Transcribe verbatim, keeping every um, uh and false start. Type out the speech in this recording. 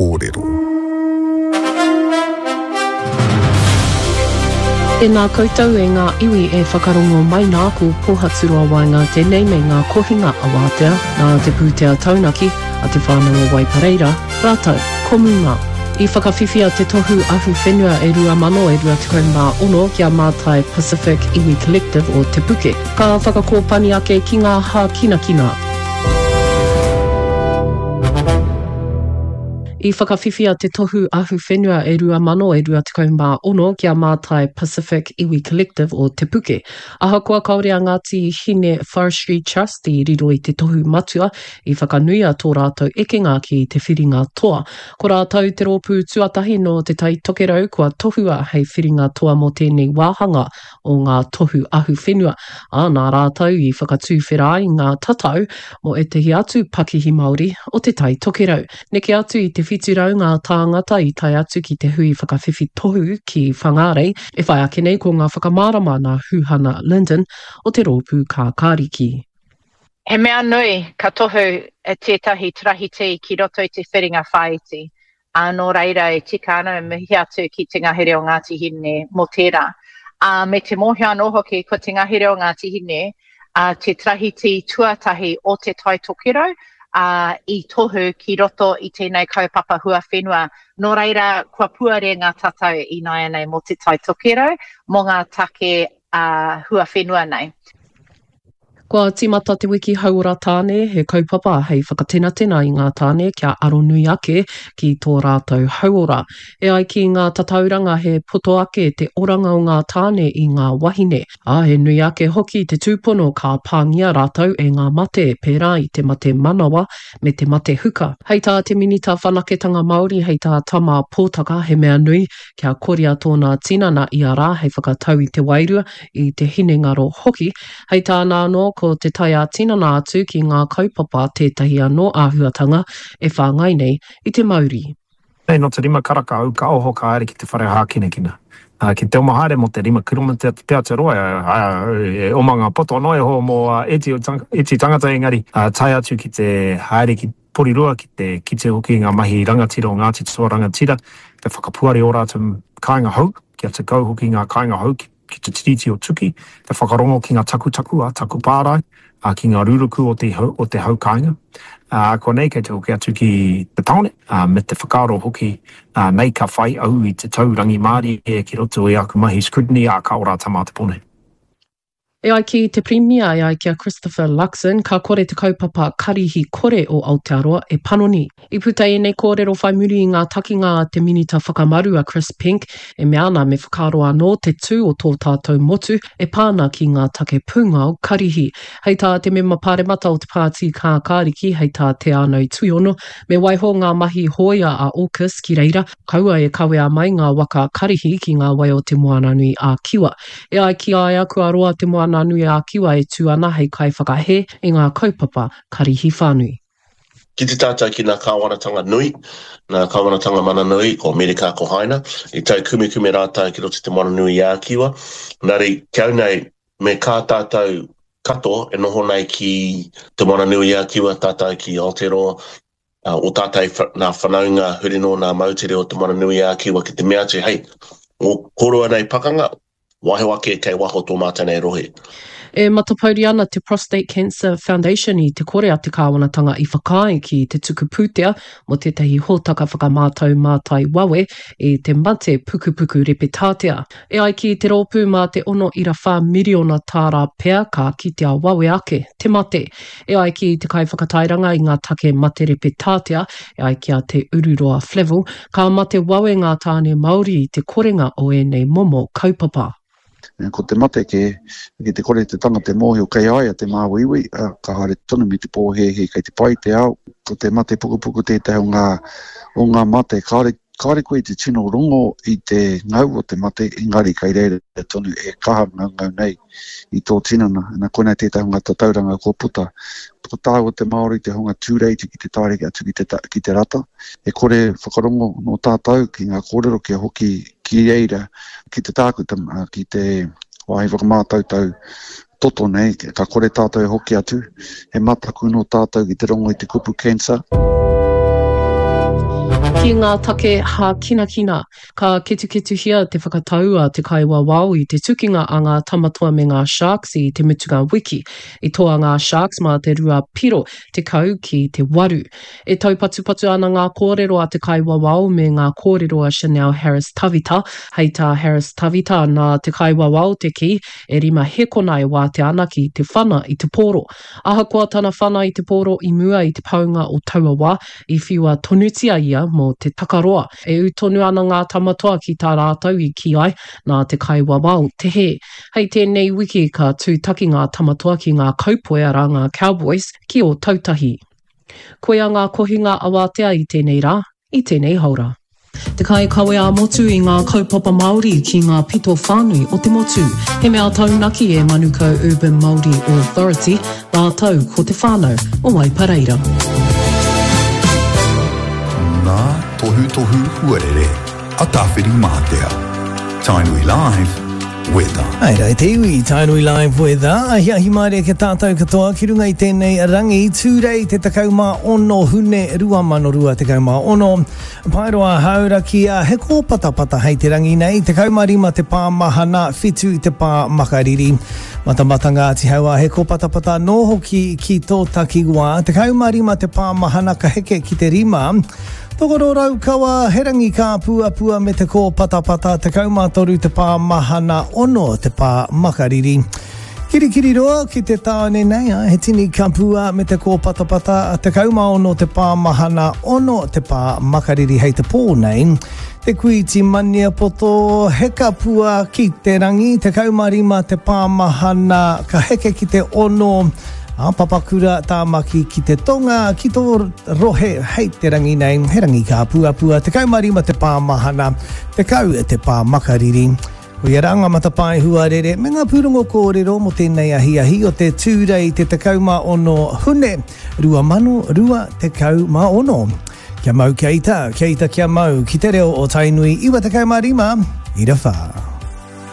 Kōrero. Tēnā koutou e ngā iwi e whakarongo mai nā ko Pōhaturoa Waenga tēnei me ngā kohinga awātea nā te pūtea taunaki a te whānau o Waipareira, rātou ko Muma. I whakawhiwhia te tohu ahu whenua e rua mano e rua tekau mā ono ki a Mātai Pacific Iwi Collective o Te Puke. Ka whakakōpani ake ki ngā hākinakina. I whakawhiwhia te tohu ahu whenua e rua mano e rua tekau mā ono ki a Mātai Pacific Iwi Collective o Te Puke. Ahakoa kāore a Ngāti Hine Forestry Trust i riro i te tohu matua, i whakanuia tō rātou ekenga ki te whiringa toa. Ko rātou te rōpū tuatahi nō Te Tai Tokerau kua tohua hei whiringa toa mō tēnei wāhanga o ngā tohu ahu whenua, ā, nā rātou i whakatuwhera ai ngā tatau mō ētahi atu pakihi Māori o Te Tai Tokerau. Neke atu i te whitu rau ngā tāngata i tae atu ki te hui whakawhiwhi tohu ki Whangārei, e whai ake nei ko ngā whakamārama nā Huhana Lyndon o te rōpū Kākāriki. He mea nui ka tohu tētahi tarahiti ki roto i te whiringa whāiti, ā, nō reira e tika ana e mihi atu ki te ngahere o Ngāti Hine mō tērā. Ā, me te mōhio anō hoki ko te ngahere o Ngāti Hine ā, te tarahiti tuatahi o Te Tai Tokerau, ā, i tohu ki roto i tēnei kaupapa huawhenua. Nō reira, kua puare ngā tatau ināianei mō Te Tai Tokerau, mō ngā take ā, huawhenua nei. Kua tīmata te wiki hauora tāne, he kaupapa hei whakatenatena i ngā tāne kia aronui ake ki tō rātou hauora. E ai ki ngā tatauranga he poto ake te oranga o ngā tāne i ngā wahine, ā, he nui ake hoki te tūpono ka pāngia rātou e ngā mate pērā i te mate manawa me te mate huka. Hei tā te Minita Whanaketanga Māori, hei tā Tama Pōtaka, he mea nui kia koria tōna tinana ia rā hei whakatau i te wairua, i te hinengaro hoki. Hei tāna anō, ko te tae ā-tinana atu ki ngā kaupapa tētahi anō āhuatanga e whāngai nei i te mauri. Nei nō te rima karaka au ka oho ka haere ki te whare hākinakina. Ki te oma haere mō te rima kiromita pea te roa, e oma ngā poto noa iho mō ēti tangata engari tae atu ki te haere ki Porirua ki te kite hoki i ngā mahi rangatira o Ngāti Toa Rangatira, te whakapuare ō rātou kāinga hou, kia tekau hoki ngā kāinga hou ki ki te Tiriti o Tuki, te whakarongo ki ngā takutaku a taku pārae, ā, ki ngā ruruku o te, o te hau kāinga. Ā, konei kei te hoki atu ki te tāone, ā, me te whakaaro hoki, ā, nei ka whai au i te tau rangimārie ki roto i aku mahi scrutiny, ā, ka ora tā mātou pone. E ai ki te Pirimia, e ai ki a Christopher Luxon, ka kore te kaupapa karihi kore o Aotearoa e panoni. I puta ēnei kōrero whai muri i ngā takinga a te Minita Whakamaru a Chris Penk e mea ana me whakaaro anō te tū o tō tātou motu e pā ana ki ngā take pūngao karihi. Hei tā te mema pāremata o te Pāti Kākāriki, hei tā Te Ānau Tuiono, me waiho ngā mahi hōia a AUKUS ki reira, kaua e kawea mai ngā waka karihi ki ngā wai o Te Moananui a-Kiwa. E ai ki a ia, kua roa Te Moananui-a-Kiwa e tū ana hei kaiwhakahē i ngā kaupapa karihi whānui. Ki te tātou ki ngā kāwanatanga nui, ngā kāwanatanga mana nui, ko Amerika, ko Haina, i taukumekume rātou ki roto i Te Moananui-a-Kiwa. Engari, ki au nei, me kā tātou katoa e noho nei ki Te Moananui-a-Kiwa, tātou ki Aotearoa, o tātou nā whanaunga huri noa nā moutere o Te Moananui-a-Kiwa ki te mea atu, hei, o koroua nei pakanga, waiho ake kei waho tō mātou nei rohe. E matapouri ana te Prostate Cancer Foundation i te kore a te kāwanatanga i whakaae ki te tuku pūtea mō tētahi hōtaka whakamātau mātai wawe i te mate pukupuku repetātea. E ai ki te rōpū mā te ono ira whā miriona tāra pea ka kitea wawe ake te mate. E ai ki te kaiwhakatairanga i ngā take mate repetātea, e ai ki a Te Ururoa Flavell, ka mate wawe ngā tāne Māori i te korenga o ēnei momo kaupapa. Ko te mate kē, ki te kore te tangata e mōhio kei a ia te māuiui, ka haere tonu me te pōhēhē kei te pai te ao. Ko te mate pukupuku tētahi o ngā, o ngā mate kāore, kāore koe i te tino rongo i te ngau o te mate, engari kei reira tonu e kaha ngaungau nei i tō tinana. Na, koinei tētahi o ngā tatauranga kua puta. Ko tāua te Māori te hunga tūreiti ki te taere atu ki te, ki te rata. E kore whakarongo nō tātou ki ngā kōrero kia hoki ki reira, ki te tākuta, ki te wāhi whakamātautau toto nei, ka kore tātou e hoki atu. He mataku nō tātou ki te rongo i te kupu cancer. Ki ngā take hākinakina, ka ketuketuhia te whakatau a te kaiwawao i te tukinga a ngā Tamatoa me ngā Sharks i te mutunga wiki. I toa ngā Sharks mā te rua piro tekau ki te waru. E taupatupatu ana ngā kōrero a te kaiwawao me ngā kōrero a Chanel Harris-Tavita. Hei tā Harris-Tavita, nā te kaiwawao te kī, e rima hekona e wātea ana ki te whana i te pōro. Ahakoa tana whana i te pōro i mua i te paunga o taua wā, i whiua tonutia ia mō te takaroa. E ū tonu ana ngā Tamatoa ki tā rātou i kī ai, nā te kaiwawao te hē. Hei tēnei wiki ka tūtaki ngā Tamatoa ki ngā Kaupoi arā ngā Cowboys ki Ōtautahi. Koia ngā kohinga awatea i tēnei rā, i tēnei haora. Te kaikawe ā-motu i ngā kaupapa Māori ki ngā pito whānui o te motu. He mea taunaki e Manukau Urban Māori Authority rātou ko te whānau o Waipareira. Ngā tohutohu huarere a Tāwhirimātea. Tainui Live Weather. Hai rā te iwi, Tainui Live Weather. Ahiahi mārie ki a tātou katoa ki runga i tēnei rangi, Tūrei te tekau mā ono Hune rua mano rua tekau mā ono. Paeroa Hauraki, he kōpatapata hei te rangi nei, tekau mā rima te pā mahana, whitu te pā makariri. Matamata Ngāti Hauā, he kōpatapata anō hoki ki tō takiwā, tekau mā rima te pā mahana ka heke ki te rima. Tokoro Raukawa, he rangi kāpuapua me te kōpatapata, tekau mā toru te pā mahana, ono te pā makariri. Kirikiriroa ki te tāone nei, he tini kapua me te kōpatapata, tekau mā ono te pā mahana, ono te pā makariri hei te pō nei. Te Kuiti Maniapoto, he kapua ki te rangi, tekau mā rima te pā mahana, ka heke ki te ono, Ā, Papakura, Tāmaki ki te tonga, ki tō rohe hei te rangi nei, he rangi kāpuapua, tekau mā rima te pā mahana, tekau te pā makariri. Koia rā ngā matapae huarere me ngā pūrongo kōrero mō tēnei ahiahi o te Tūrei te tekau mā ono Hune rua mano rua tekau mā ono. Kia mau kia ita, kia ita kia mau, ki te reo o Tainui iwa tekau mā rima, ira whā.